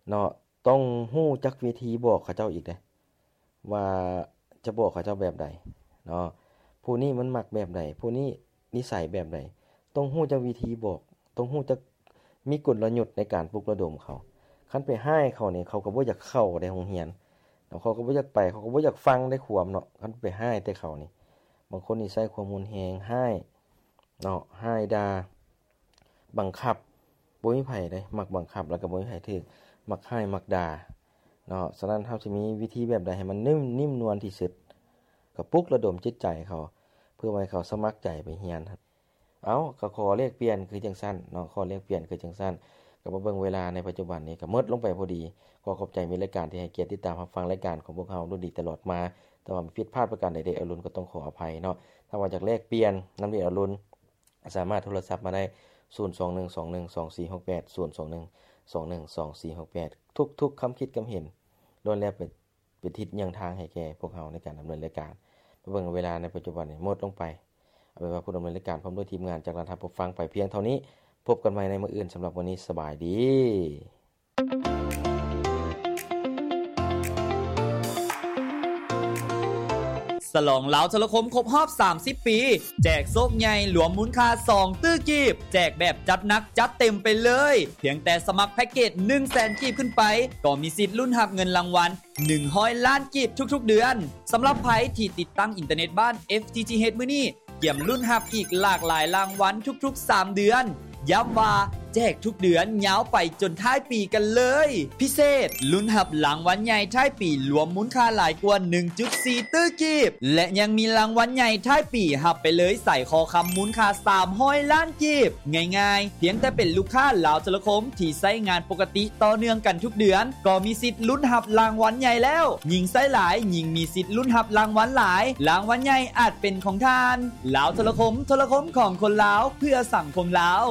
ເນາະ ຕ້ອງຮູ້ຈັກວິທີບອກເຂົາເຈົ້າອີກເດ້ ວ່າຈະບອກເຂົາເຈົ້າແບບໃດເນາະ, ຜູ້ນີ້ມັນມັກແບບໃດ, ຜູ້ນີ້ ນິໄສແບບໃດ, ຕ້ອງຮູ້ຈັກວິທີບອກ, ຕ້ອງຮູ້ຈັກມີກົນລະຍຸດໃນການປຸກລະດົມເຂົາ. ຄັນໄປຮ້າຍເຂົານີ້ ເຂົາກໍບໍ່ຢາກເຂົ້າໃນໂຮງຮຽນເນາະ, ເຂົາກໍບໍ່ຢາກໄປ, ເຂົາກໍບໍ່ຢາກຟັງໄດ້ຄວາມເນາະ, ຄັນໄປຮ້າຍແຕ່ເຂົານີ້. ບາງຄົນນີ້ໃຊ້ຄວາມຮຸນແຮງ, ຮ້າຍເນາະ, ຮ້າຍດ່າ, ບັງຄັບ, ບໍ່ມີໃຜເດ້ມັກບັງຄັບ ແລ້ວກໍບໍ່ມີໃຜຖືກ, ມັກຮ້າຍມັກດ່າເນາະ. ສະນັ້ນ ເຮົາຊິມີວິທີແບບໃດໃຫ້ມັນນຸ້ມ ນິ້ມນວນທີ່ສຸດ, ກໍປຸກລະດົມຈິດໃຈເຂົາ ເພື່ອວ່າໃຫ້ເຂົາສະໝັກໃຈໄປຮຽນ. ເອົ້າ ກໍຂໍແລກປ່ຽນຄືຈັ່ງຊັ້ນເນາະ, ຂໍແລກປ່ຽນຄືຈັ່ງຊັ້ນ. ກໍມາເບິ່ງເວລາໃນປັດຈຸບັນນີ້ກໍໝົດລົງໄປພໍດີ. ຂໍຂອບໃຈມິດລາຍການທີ່ໃຫ້ກຽດຕິດຕາມຮັບຟັງລາຍການຂອງພວກເຮົາລຸ້ນດີຕະຫຼອດມາ. ແຕ່ວ່າຜິດພາດປະການໃດ ເດັດອາລຸນກໍຕ້ອງຂໍອະໄພເນາະ. ຖ້າວ່າຢາກແລກປ່ຽນນຳເດັດອາລຸນ ສາມາດໂທລະສັບມາໄດ້ ສູນສອງໜຶ່ງສອງໜຶ່ງສອງສີ່ຫົກແປດ ສູນສອງໜຶ່ງສອງໜຶ່ງສອງສີ່ຫົກແປດ. ທຸກໆຄຳຄິດຄຳເຫັນ ລ້ວນແລ້ວເປັນ ເປັນທິດຍ່າງທາງໃຫ້ແກ່ພວກເຮົາໃນການດຳເນີນລາຍການ. ມາເບິ່ງເວລາໃນປັດຈຸບັນນີ້ໝົດລົງໄປ. ເອົາເປັນວ່າຜູ້ດຳເນີນລາຍການພ້ອມດ້ວຍທີມງານຈະລາທ່ານຜູ້ຟັງໄປພຽງເທົ່ານີ້. ພົບກັນໃໝ່ໃນມື້ອື່ນ. ສຳລັບມື້ນີ້ ສະບາຍດີ. ສະຫຼອງລາວໂທລະຄົມຄົບຮອບສາມສິບປີ ແຈກໂຊກໃຫຍ່ລວມມູນຄ່າສອງຕື້ກີບ, ແຈກແບບຈັດໜັກຈັດເຕັມໄປເລີຍ. ພຽງແຕ່ສະໝັກແພັກເກດໜຶ່ງແສນກີບຂຶ້ນໄປ ກໍມີສິດລຸ້ນຮັບເງິນລາງວັນ ໜຶ່ງຮ້ອຍລ້ານກີບທຸກໆເດືອນ. ສຳລັບໃຜທີ່ຕິດຕັ້ງອິນເຕີເນັດບ້ານ ເອັຟ ທີ ທີ ເອດ ມື້ນີ້ ກຽມລຸ້ນຮັບອີກຫຼາກຫຼາຍລາງວັນທຸກໆສາມເດືອນ. ຢ້ຳວ່າແຈກທຸກເດືອນຍາວໄປຈົນທ້າຍປີກັນເລີຍ. ພິເສດ, ລຸ້ນຮັບລາງວັນໃຫຍ່ທ້າຍປີລວມມູນຄ່າຫຼາຍກວ່າໜຶ່ງຈຸດສີ່ຕື້ກີບ ແລະ ຍັງມີລາງວັນໃຫຍ່ທ້າຍປີຮັບໄປເລີຍສາຍຄໍຄຳມູນຄ່າສາມຮ້ອຍລ້ານກີບ. ງ່າຍໆ, ພຽງແຕ່ເປັນລູກຄ້າລາວໂທລະຄົມທີ່ໃຊ້ງານປົກກະຕິ ຕໍ່ເນື່ອງກັນທຸກເດືອນ ກໍມີສິດລຸ້ນຮັບລາງວັນໃຫຍ່ແລ້ວ. ຍິ່ງໃຊ້ຫຼາຍ ຍິ່ງມີສິດລຸ້ນຮັບລາງວັນຫຼາຍ. ລາງວັນໃຫຍ່ອາດເປັນຂອງທ່ານ. ລາວໂທລະຄົມ, ໂທລະຄົມຂອງຄົນລາວ ເພື່ອສັງຄົມລາວ.